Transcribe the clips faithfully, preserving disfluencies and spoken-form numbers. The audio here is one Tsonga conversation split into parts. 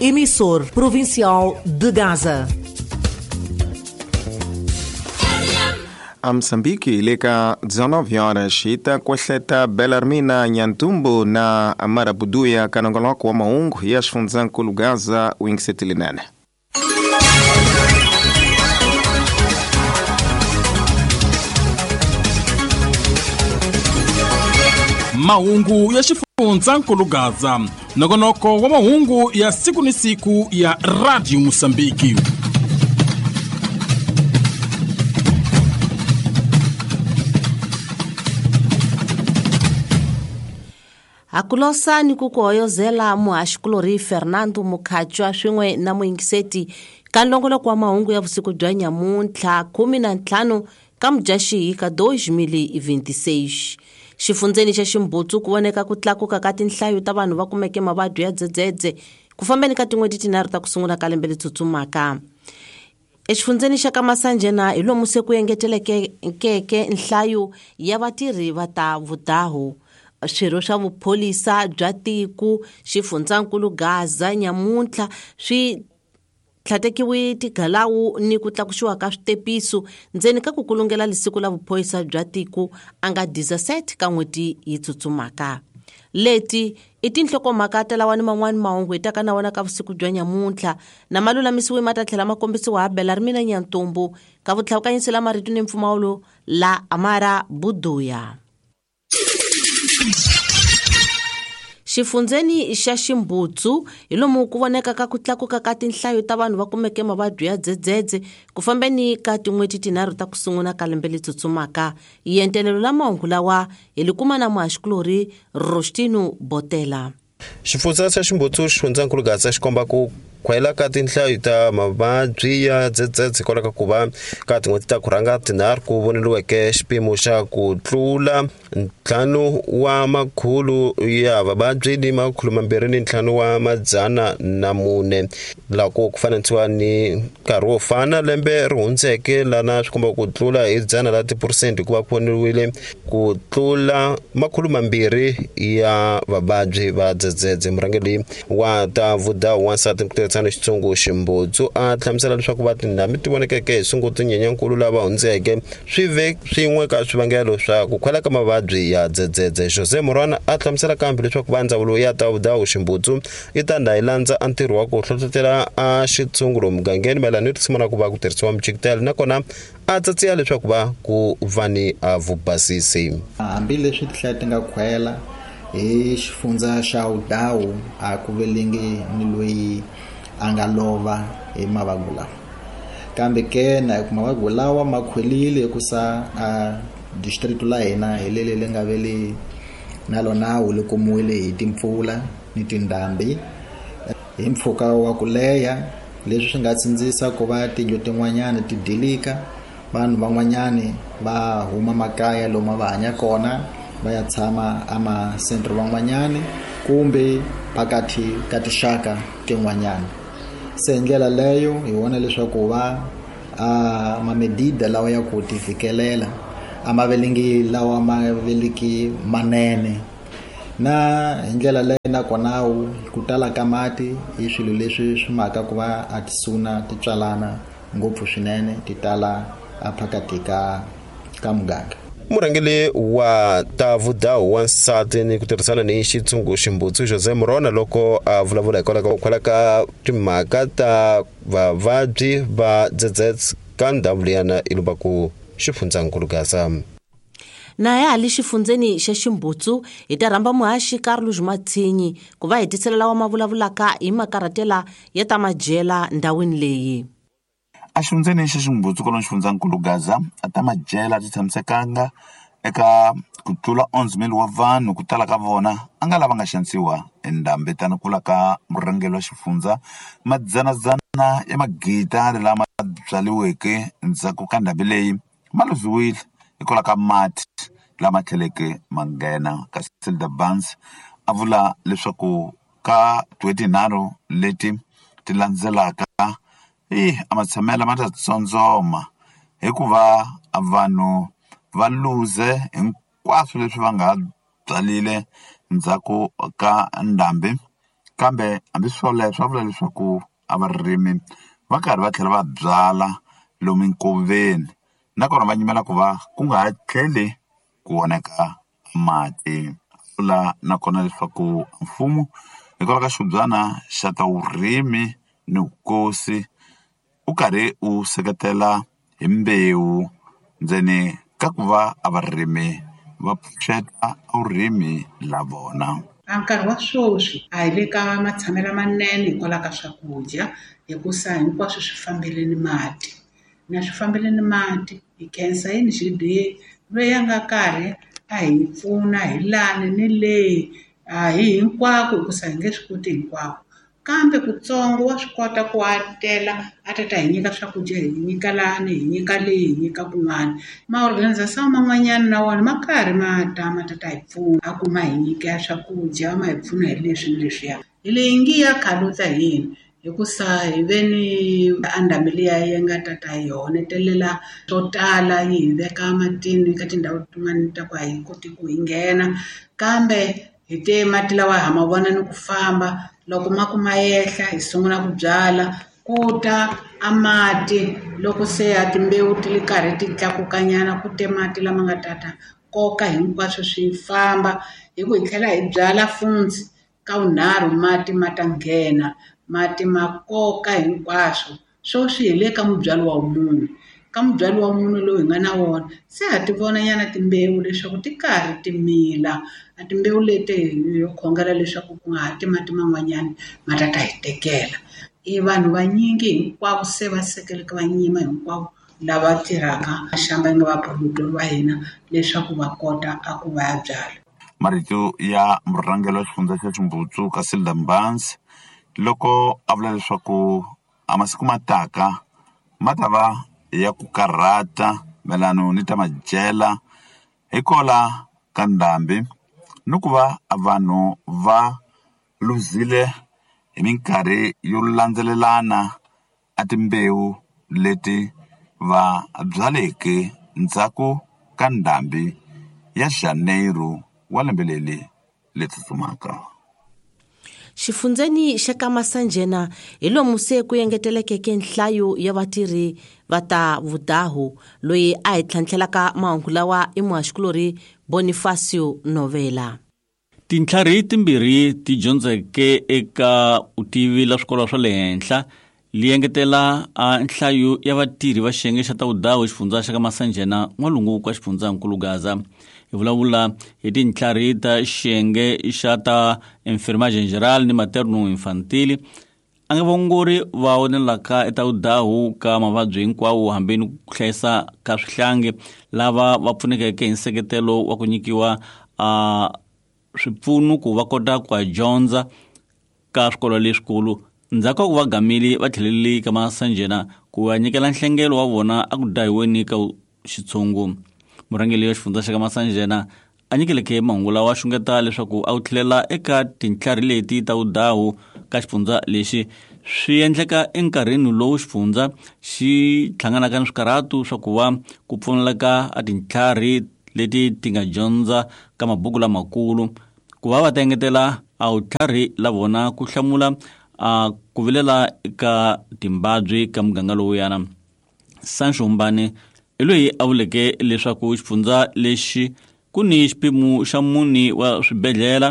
emissor provincial de Gaza. A Moçambique leka dezenove horas ita kuahleta Belarmina Nhantumbo na Amara Buduya kanongoloko wa maungu ya xifundzhankulu Gaza wingisetelinene. Mahungu ya xifundzhankulu Gaza, nongonoko wa mahungu ya siku ni siku ya Radio Mozambique. Hakulosa ni ku kuhoyozela muhaxikulori Fernando Mukhatshwa swin'we na muyingiseti ka nongoloko wa mahungu ya vusiku bya nyamuntlha khume na ntlhanu ka Mudyaxihi ka dois mil e vinte e seis. Xifundzeni xa Ximbutsu ku voneka ku tlakuka ka tinhlayo ta vanhu va kumeke mavabyi ya dzedzedze ku fambeni ka tin'hweti tinharhu ta ku sungula ka lembe leri tsutsumaka. Exifundzeni xa ka Masanjena hi lomu se ku engetelekeke nhlayo ya vatirhi va ta vudahu. Swirho swa vupholisa bya tiko xifundzankulu Gaza nyamuntlha swi tlhatekiwe tigalawu ni ku tlakusiwa ka switepiso ndzeni ka ku kulungela lisiku la vupholisa bya tiko a nga dezesete ka n'hweti yi tsutsumaka. Leti i tinhlokomhaka ta lawa ni man'wani mahungu hi taka na wona ka vusiku bya nyamuntlha na malulamisiwe ma ta tlhela ma kombisiwa ha Belarmina Nyantumbu ka vutlhawukanyisi la marito ni mpfumawulo la Amara Buduya. Xifundzeni xa Ximbutsu hi lomu ku voneka ka ku tlakuka ka tinhlayo ta vanhu va kumeke mavabyi ya dzedzedze ku fambeni ka tin'hweti tinharhu ta ku sungula ka lembe leri tsutsumaka. Yentelelo la mahungu lawa hi li kuma na muhaxikulori Rostino Botela. Xifundza xa Ximbutsu xifundzankulu Gaza xi komba ku khwela ka tinhlayo ta mavabyi ya dzedzedze hikwalaho ka ku va ka tin'hweti ta ku rhanga tinharhu ku voneriweke xipimo xa ku tlula ntlhanu wa makhulu ya vavabyi ni makhulu mambirhi ni ntlhanu wa madzana na mune loko ku fananisiwa ni nkarhi wo fana lembe ri hundzeke lana swi komba ku tlula hi dzana la tiphurusente hikuva ku voneriwile ku tlula makhulu mambirhi ya vavabyi va dzedzedze. Murhangeri wa ta vudawu wansati ku tirhisana xitsongo Ximbutsu a hlamusela leswaku va tindhambi ti vonekeke hi Sunguti Nyenyankulu lava hundzeke swi ve swin'we ka swivangelo swa ku khwela ka mavabyi ya dzedzedze. Jose Morwana a hlamusela kambe leswaku va ndzawulo ya ta vudawu Ximbutsu yi ta ndha yi landza a ntirho wa ku hlohlotela a xitshungulo mugangeni mayelana ni risimu ra ku va ku tirhisiwa mijikitelo nakona a tsatsiya leswaku va ku va ni a vubasisi. Hambileswi tinhlayo ti nga khwela hi xifundza xa Udawu a ku velengi ni loyi a nga lova hi mavabyi lawa, kambe ke na ku mavabyi lawa ma khwelile hikusa a district la hina hi lele le nga vele na lona wu le kumiwile hi timpfula ni tindhambi hi mpfhuka wa ku leha, leswi swi nga tsindzisa ku va tindlu tin'wanyana ti dilika, vanhu van'wanyani va huma makaya lomu va hanya kona va ya tshama ama-centre van'wanyani kumbe phakathi ka tinxaka tin'wanyana. Se hi ndlela leyo hi vona leswaku va a mamedida lawa ya ku ti fikelela a ma velengi lawa ma veliki manene, na hi ndlela leyo nakona ku tala ka mati i swilo leswi swi maka ku va a tisuna ti tswalana ngopfu swinene ti tala a phakathi ka ka muganga. Murhangeri wa ta vudawu wansati ni ku tirhisana ni xitshungu Ximbutsu Jose Morona loko a vulavula hikwalaho ka ku khwela ka timhaka ta vavabyi va dzedzedze ka ndhawu liyana i lumba ku xifundzankulu Gaza. Na ya hali xifundzeni xa Ximbutsu hi ta rhamba muhaxi Carlos Matsinyi ku va hi tisela lawa ma vulavulaka hi makarhatela ya ta madyela ndhawini leyi. A xifundzeni xa Ximbutsu kwalomu xifundzankulu Gaza a ta madyela ti tshamisekanga eka ku tlula onze mil wa vanhu ku tala ka vona a nga lava nga xanisiwa endhambi tani kula ka murhangeri wa xifundza madzanadzana ya magita lama byaliweke endzhaku ka ndhambi leyi ma luziwile hikwalaho ka mati lama tlheleke ma nghena. Kasi Silda Barnes a vula leswaku ka tin'hweti tinharhu leti ti landzelaka i a matshamelo ma ta tsondzoma hikuva vanhu va luze hinkwaswo leswi va nga byalile ndzhaku ka ndhambi Kambe hambi swoleswo va vula leswaku a varimi va karhi va tlhela va byala lomu nkoveni nakona va nyimela ku va ku nga ha tlheli ku oneka mati. Vula nakona leswaku mfumo hikwalaho ka xibyana xa ta vurimi ni vukosi u karhi u seketela hi mbewu ndzeni ka ku va a varimi va pfuxeta vurimi la vona. A nkarhi wa sweswi a hi le ka matshamelo manene hikwalaho ka swakudya hikusa hinkwaswo swi fambeleni mati na swi fambeleni mati hi khensa yini G D A loyi a nga karhi a hi pfuna hi lani ni leyi a hi hinkwako hikusa hi nge swi koti hinkwako kambe kutsongo wa swi kota ku a tela a ta ta hi nyika swakudya hi nyika lani hi nyika leyi hi nyika kun'wana ma-organisation man'wanyana na wona ma karhi ma ta ma ta ta hi pfuna a ku ma hi nyika swakudya ma hi pfuna hi leswi ni leswiya hi leyi ngi ya khaluta hina hikusa hi ve ni andambi liya yi nga ta ta hi honetelela swo tala yi hi veka matini ka tindhawu tin'wana ta ku a hi koti ku hi nghena kambe hi te mati lawa ha ma vona ni ku famba loko ma ku ma yehla hi sungula ku byala ku ta a mati loko se a timbewu ti le karhi ti tlakukanyana ku te mati lama nga tata koka hinkwaswo swi famba hi ku hi tlhela hi byala funtsi ka vunharhu mati ma ta nghena mati ma koka hinkwaswo sweswi hi le ka mubyalo wa mune ka mubyalo wa mune lowu hi nga na wona se ha ti vona nyana timbewu leswaku ti karhi ti mila a timbewu leti hi khongela leswaku ku nga ha ti mati man'wanyana ma ta ta hi tekela i vanhu vanyingi hinkwavo se va sekeleke va nyima hinkwavo lava tirhaka xamba nga vapromotori va hina leswaku va kota a ku va ya byala. Marito ya murhangeri wa xifundza xa Ximbucu Casilda Mbanzi loko a vula leswaku a masiku ma taka ma ta va ya ku karhata mayelano ni ta madyela hikola ka ndhambi ni ku va vanhu va luzile hi minkarhi yo landzelelana a timbewu leti va byaleke ndzhaku ka ndhambi ya Janeiro wa lembe leri le tsutsumaka. Xifundzeni xa ka Masanjena hi lomu se ku engetelekeke nhlayo ya vatirhi va ta vudahu loyi a hi tlhantlhelaka mahungu lawa i muhaxikulori Bonifacio Novela. Tintlhari timbirhi ti dyondzeke eka vutivi la swikolo swa le henhla li engetela a nhlayo ya vatirhi va xiyenge xa ta vudahu xifundza xa ka Masanjena n'walungu ka xifundzankulu Gaza. Hi vulavula hi tintlhari ta xiyenge xa ta enfermagem geral ni materno infantile a nga vaongori va onelaka eta vudahu ka mavabyi hinkwawo hambi ni ku hlayisa ka swihlangi lava va pfunekeke hi nseketelo wa ku nyikiwa a swipfuno ku va kota ku dyondza ka swikolo leswikulu. Ndzhaku ka ku va gamile va tlhelele ka Masanjena ku va nyikela nhlengelo wa vona a ku dahiweni ka xitshungu. Murhangeri wa xifundza xa ka Masanjena a nyikeleke mahungu lawa xungeta leswaku a wu tlhelela eka tintlhari leti ta vudahu ka xifundza lexi swi endleka enkarhini lowu xifundza xi hlanganaka ni swikarhatu swa ku va ku pfuneleka a tintlhari leti ti nga dyondza ka mabuku lamakulu ku va va ta engetela a vutlhari la vona ku hlamula a ku vilela ka timbabyi ka muganga lowuyana. Sancho Mbane i loyi a vuleke leswaku xifundza lexi ku ni xipimo xa mune wa swibedhlele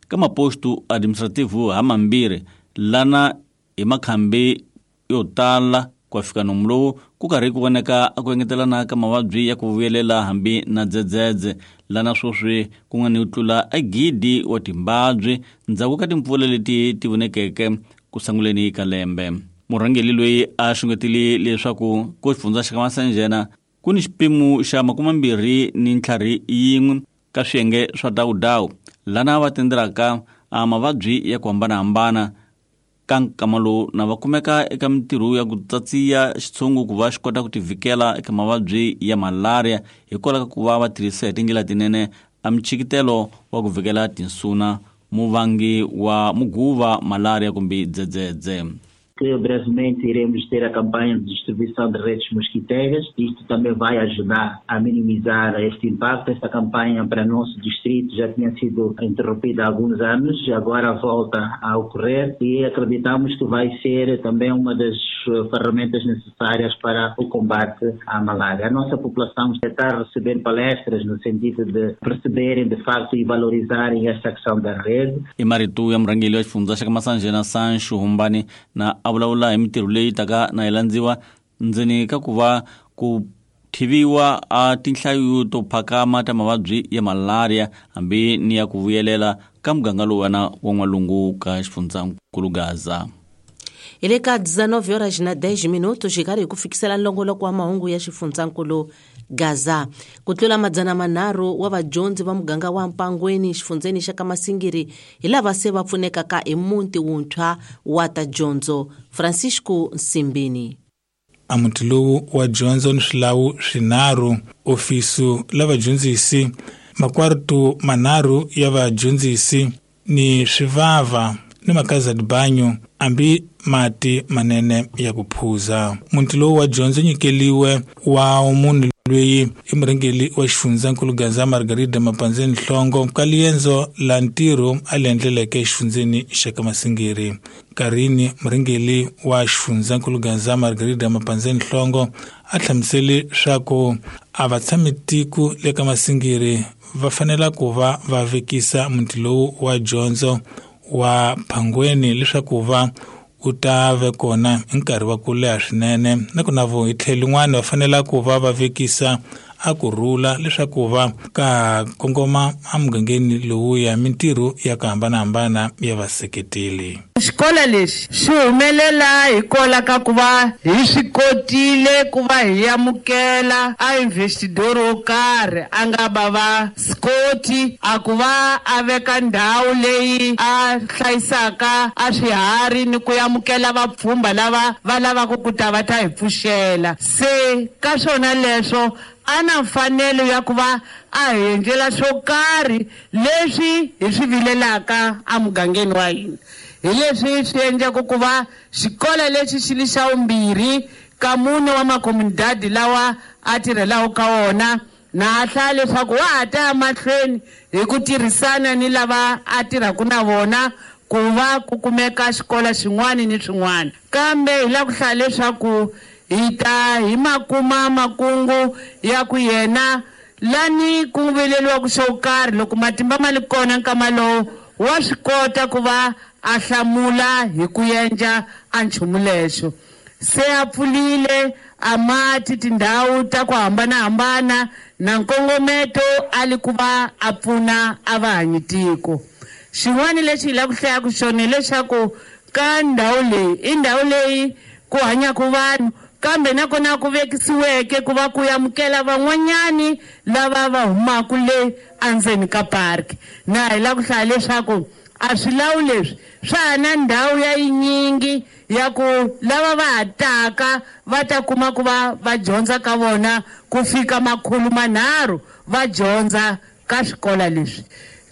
ka maposto administrativo ha mambirhi lana hi makhambi yo tala ku fika nomu lowu ku karhi ku voneka a ku engetelana ka mavabyi ya ku vuyelela hambi na dzedzedze lana sweswi ku nga ni ku tlula a gidi wa timbabyi ndzhaku ka timpfula leti ti vonekeke ku sunguleni ka lembe. Murhangeri loyi a xungetile leswaku ku xifundza xa ka Masanjena ku ni xipimo xa makumembirhi ni ntlhari yin'we ka swiyenge swa dawudawu lana va tendelaka a mavabyi ya ku hambanahambana ka nkama lowu na va kumeka eka mintirho ya ku tsatsiya xitshungu ku va xi kota ku tivikela eka mavabyi ya malaria hikwalaho ka ku va va tirhisa hi tindlela tinene a michikitelo wa ku vikela tinsuna muvangi wa muguva malaria kumbe dzedzedze. Que brevemente iremos ter a campanha de distribuição de redes mosquiteiras. Isto também vai ajudar a minimizar este impacto. Esta campanha para nosso distrito já tinha sido interrompida há alguns anos, agora volta a ocorrer e acreditamos que vai ser também uma das ferramentas necessárias para o combate à malária. A nossa população está a receber palestras no sentido de perceberem de facto e valorizarem esta questão da rede. I marito ya murhangeri wa xifundza xa ka Masanjena Sancho Humbani na a vulavula hi mintirho leyi taka na yi landziwa ndzeni ka ku va ku thiviwa a tinhlayo to phakama ta mavabyi ya malaria hambi ni ya ku vuyelela ka muganga lowuwana wa n'walungu ka xifundzankulu Gaza. Hi le ka dezenove horas na dez minutos hi karhi hi ku fikisela nlongoloko wa mahungu ya xifundzankulu Gaza. Ku tlula madzana manharhu wa vadyondzi va muganga wa Mpangweni xifundzeni xa ka Masingiri hi lava se va pfunekaka hi muti wuntshwa wa ta dyondzo. Francisco Nsimbini. A muti lowu wa dyondzo ni swilawu swinharhu, ofisu la vadyondzisi, makwartu manharhu ya vadyondzisi ni swivava ni makaza dibanyo ambi mati manene ya ku phuza. Muti lowu wa dyondzo nyikeliwe wa munhu loyi i murhangeri wa xifundzankulu Gaza Margarida Mapanzeni Nhlongo ka liendzo la ntirho a li endleleke exifundzeni xa ka Masingiri. Nkarhini murhangeri wa xifundzankulu Gaza Margarida Mapanzeni Nhlongo a hlamusele swa ku a va tshami tiko le ka Masingiri va fanela ku va va vekisa muti lowu wa dyondzo wa Phangweni leswaku va u ta ve kona hi nkarhi wa ku leha swinene, na ku na vo hi tlhelo rin'wana va fanela ku va va vekisa a ku rhula leswaku va ka kongoma emugangeni lowuya mintirho ya ku hambanahambana ya vaseketeli. Xikolo lexi xi humelela hikwalaho ka ku va hi swi kotile ku va hi amukela a investidor wo karhi a nga va va Scott a ku va a veka ndhawu leyi a hlayisaka a swiharhi ni ku amukela vapfhumba lava va lavaka ku ta va ta hi pfuxela. Se ka swona leswo a na mfanelo ya ku va a hi endlela swo karhi leswi hi swi vilelaka emugangeni wa hina. Hi leswi swi endlaka ku va xikolo lexi xi li xa vumbirhi ka mune wa makomunidadi lawa a tirhelaku ka wona, na a hlaya leswaku wa ha ta ya mahlweni hi ku tirhisana ni lava a tirhaka na vona ku va ku kumeka xikolo xin'wana ni swin'wana. Kambe hi lava ku hlaya leswaku hi ta hi makuma makungu ya ku yena lani ku vileliwaku xo karhi loko matimba ma li kona nkama lowu wa swi kota ku va a hlamula hi ku endla a nchumu lexo. Se a pfulile a mati tindhawu ta ku hambanahambana na nkongometo a li ku va a pfuna a va hanyi tiko. Xin'wana lexi hi lava ku hlayaka xona hileswaku ka ndhawu leyi i ndhawu leyi ku hanyaka vanhu, kambe nakona ku vekisiweke ku va ku amukela van'wanyani lava va humaka le endzeni ka park. Na hi lava ku hlaya leswaku a swilawu leswi swa ha na ndhawu ya yinyingi ya ku lava va ha taka va ta kuma ku va va dyondza ka vona ku fika makhulu manharhu va dyondza ka swikolo leswi.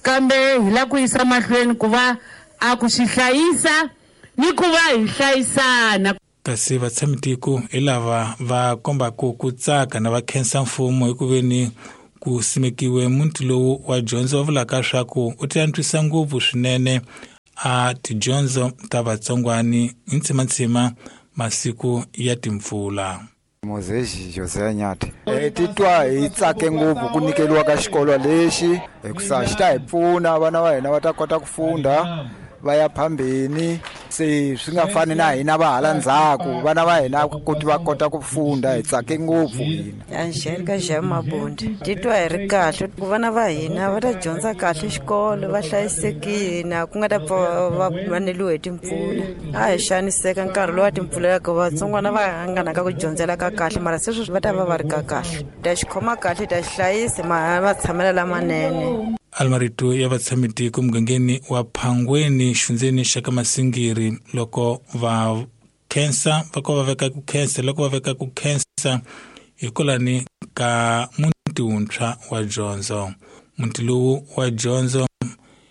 Kambe hi lava ku yisa mahlweni ku va a ku xi hlayisa ni ku va hi hlayisana. Kasi vatshami-tiko hi lava va kombaka ku tsaka na va khensa mfumo hi ku veni ku simekiwe muti lowu wa dyondzo va vulaka swa ku u ti antswisa ngopfu swinene a tidyondzo ta vatsongwani hi ntsimantsima masiku ya timpfula. Moses Jose Nyathi. Eh titwa hi tsake ngopfu ku nyikeliwa ka xikolo lexi hikusa xi ta hi pfuna vana va hina va ta kota ku funda va ya phambeni, se swi nga fani na hina va hala ndzhaku, vana va hina ku va kota ku funda. Hi tsake ngopfu hina. Angelica Jamabundi. Titwa hi ri kahle ku vana va hina va ta dyondza kahle xikolo, va hlayisekile, ku nga ta pfa va vaneliwe hi timpfula. A hi xaniseka nkarhi lowu wa timpfula ya ku vatsongwana va hanganaka ku dyondzela ka kahle, mara se sweswi va ta va va ri ka kahle. Ta xi khoma kahle, ta xi hlayisa, ma tshamela lamanene. Almarito ya vatshami-tiko mugangeni wa Phangweni xifundzeni xa ka Masingiri loko va khensa va ko va veka ku khensa loko va veka ku khensa hikwalani ka muti wuntshwa wa dyondzo. Muti lowu wa dyondzo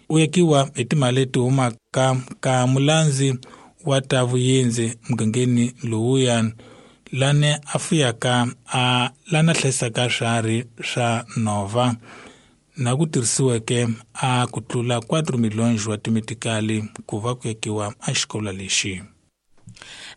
u yakiwa hi timali leti humaka ka mulandzi wa ta vuyendzi mugangeni lowuya lane a fuyaka a lana hlayisaka swiharhi swa nhova na ku tirhisiweke a ku tlula quatro milhões wa timetikali ku va ku yakiwa a xikolo lexi.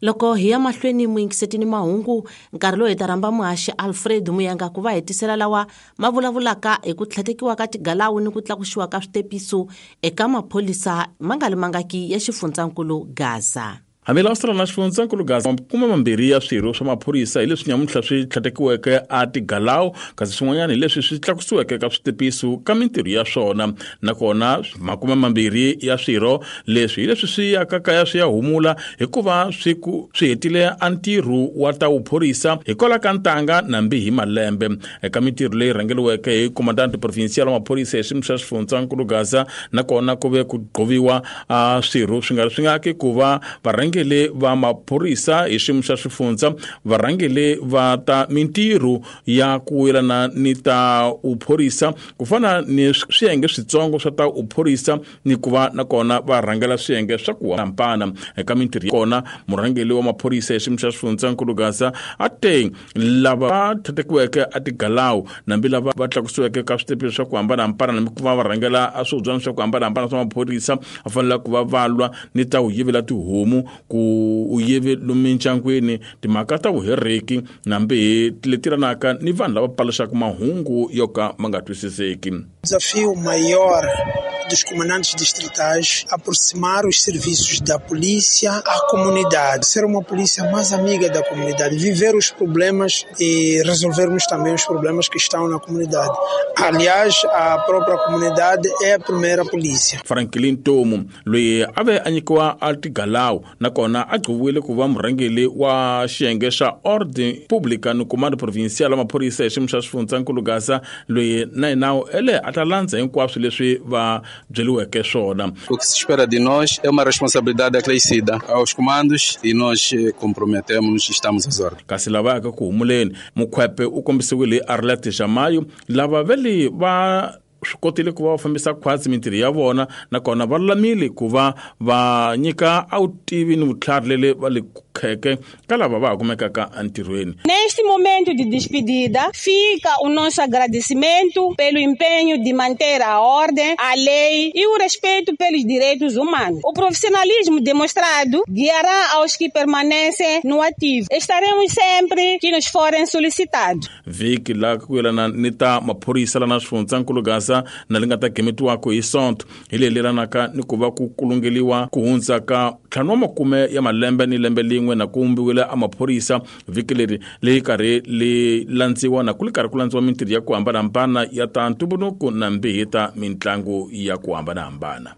Loko hi ya mahlweni muyingisetini mahungu nkarhi lowu hi ta rhamba muhaxi Alfred Muyanga ku va hetisela lawa ma vulavulaka hi ku tlhatekiwa ka tigalawu ni ku tlakusiwa ka switepiso eka maphorisa ma nga limangaki ya xifundzankulu Gaza. Hambi lawa na xifundzankulu Gaza makume mambirhi ya swirho swa maphorisa hi leswi nyamuntlha swi tlhatekiweke a tigalawu kasi swin'wanyana hi leswi swi tlakusiweke ka switepiso ka mintirho ya swona nakona makume mambirhi ya swirho leswi hi leswi swi yaka kaya swi ya humula hikuva swi ku swi hetile a ntirho wa ta vuphorisa hikwalaho ka ntanga nambi hi malembe eka mintirho leyi rhangeriweke hi comandante provincial wa maphorisa hi xiyimo xa xifundzankulu Gaza nakona ku ve ku gqoviwa a swirho swi nga ri swi nga ku va varhangeri va maphorisa hi xiyimo xa xifundza varhangeri va ta mintirho ya ku yelana ni ta uphorisa ku fana ni swiyenge switsongo swa ta uphorisa ni ku va nakona va rhangela swiyenge swa ku hambana eka mintirho ya kona murhangeri wa maphorisa hi xiyimo xa xifundzankulu Gaza a te lava va tlhatekiweke a tigalawu nambi lava va tlakusiweke ka switepe swa ku hambanahambana nambi ku va va rhangela a swihubyana swa ku hambanahambana swa maphorisa va fanele ku va va lwa ni ta u yivela tihomu ku u yive lomu mindyangwini timhaka ta vuhereki nambi leti ranaka ni vanhu lava paluxaka mahungu yo ka ma nga twisiseki. Desafio maior dos comandantes distritais aproximar os serviços da polícia à comunidade, ser uma polícia mais amiga da comunidade, viver os problemas e resolvermos também os problemas que estão na comunidade. Aliás, a própria comunidade é a primeira polícia. Franklin Tomu loyi a ve a nyikiwa a tigalawu nakona a gqoviwile ku va murhangeri wa xiyenge xa Ordem Pública ni Comando Provincial wa maphorisa hi xiyimo xa xifundzankulu Gaza loyi na yena ele a ta landza hinkwaswo leswi va byeriweke swona. O que se espera de nós é uma responsabilidade acrescida aos comandos e nós comprometemos-nos e estamos às ordens. Kasi lava yaka ku humuleni Mukhwepe u kombisiwile hi Arlette Jamayo lava vele va swi kotile ku va va fambisa khwatsi mintirho ya vona nakona va lulamile ku va va nyika a vutivi ni vutlhari lele va le kheke ka lava va ha kumekaka entirhweni. Neste momento de despedida, fica o nosso agradecimento pelo empenho de manter a ordem, a lei e o respeito pelos direitos humanos. O profissionalismo demonstrado guiará aos que permanecem no ativo. Estaremos sempre que nos forem solicitados. Vhiki la ku yelana ni ta maphorisa lana xifundzankulu Gaza na li nga ta gemetiwaka hi Sonto hi leyi lelanaka ni ku va ku kulungeliwa ku hundza ka ntlhanu wa makume ya malembe ni lembe lin'we na ku vumbiwile a maphorisa vhiki leri leyi karhi li landziwa na ku li karhi ku landziwa mintirho ya ku hambanahambana ya ta ntumbuluko na mbihi ta mitlangu ya ku hambanahambana.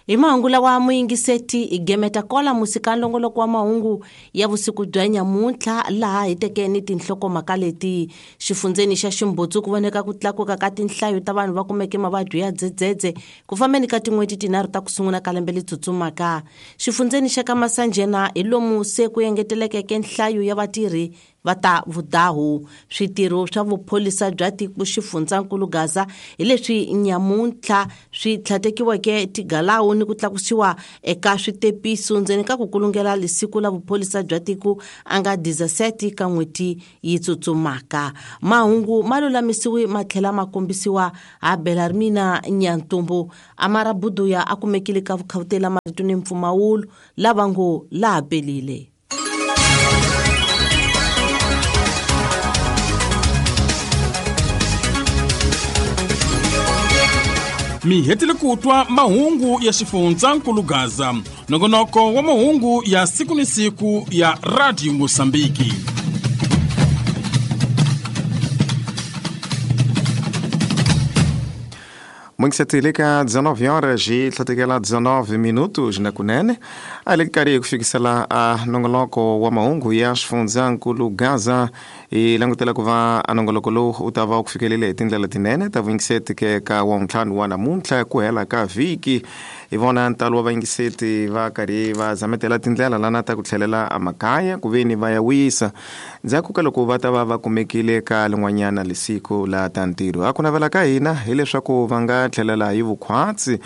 Hi mahungu lawa muyingiseti hi gemeta kola musika nlongoloko wa mahungu ya vusiku bya nyamuntlha laha hi teke ni tinhlokomhaka leti xifundzeni xa Ximbutsu ku voneka ku tlakuka ka tinhlayo ta vanhu va kumeke mavabyi ya dzedzedze ku fambeni ka tin'hweti tinharhu ta ku sungula ka lembe letsutsumaka. Xifundzeni xa ka Masanjena hi lomu se ku engetelekeke nhlayo ya vatirhi va ta vudahu switirho swa vupholisa bya tiko xifundzankulu Gaza hi leswi nyamuntlha swi tlhatekiweke tigalawu ni ku tlakusiwa eka switepiso ndzeni ka ku kulungela lisiku la vupholisa bya tiko a nga dezesete ka n'hweti yi tsutsumaka. Mahungu ma lulamisiwe ma tlhela ma kombisiwa ha Belarmina Nyantumbu Amara Buduya a kumekile ka vukhawutela marito ni mpfumawulo lava ngo laha pelile. Mi hetile ku twa mahungu ya xifundzankulu Gaza nongonoko wa mahungu ya siku ni siku ya Radio Mozambique. Mwingiseteleka dezenove horas e tlatekela dezenove minutos na kunene ali karhi ku fikisela a nongoloko wa mahungu ya xifundzankulu Gaza i langutela ku va a nongoloko lowu u ta va ku fikelele hi tindlela tinene ta vuyingisetike ka wa ntlhanu wa namuntlha ku hela ka vhiki Hi vona ntalo wa vayingiseti va karhi va zametela tindlela lana ta ku tlhelela emakaya ku veni va ya wisa ndzhaku ka loko va ta va va kumekile ka lin'wanyana lisiku la ta ntirho. A ku navela ka hina hileswaku va nga tlhelela hi vukhwatsi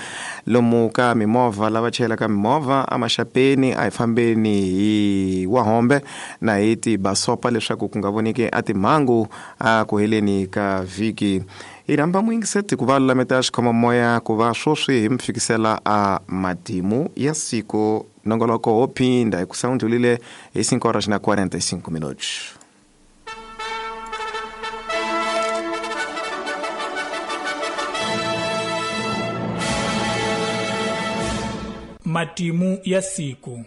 lomu ka mimovha lava chayelaka mimovha emaxapeni a hi fambeni hi wahombe na hi tibasopa leswaku ku nga voneki a timhangu a ku heleni ka vhiki. Hi rhamba muyingiseti ku va lulameta xikhomamoya ku va swoswi hi mi fikisela a matimu ya siku. Nongoloko wo phinda hi ku sawundlulile hi cinco horas na quarenta e cinco minutos. Matimu ya siku.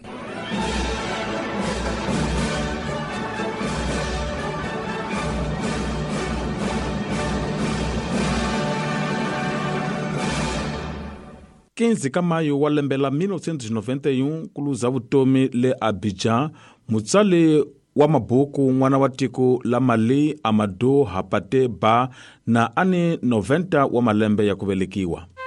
quinze ka mayo wa lembe la mil novecentos e noventa e um ku luza vutomi le Abidjan mutsali wa mabuku n'wana wa tiko la Mali Amadou Hampâté Bâ na ani noventa wa malembe ya ku velekiwa.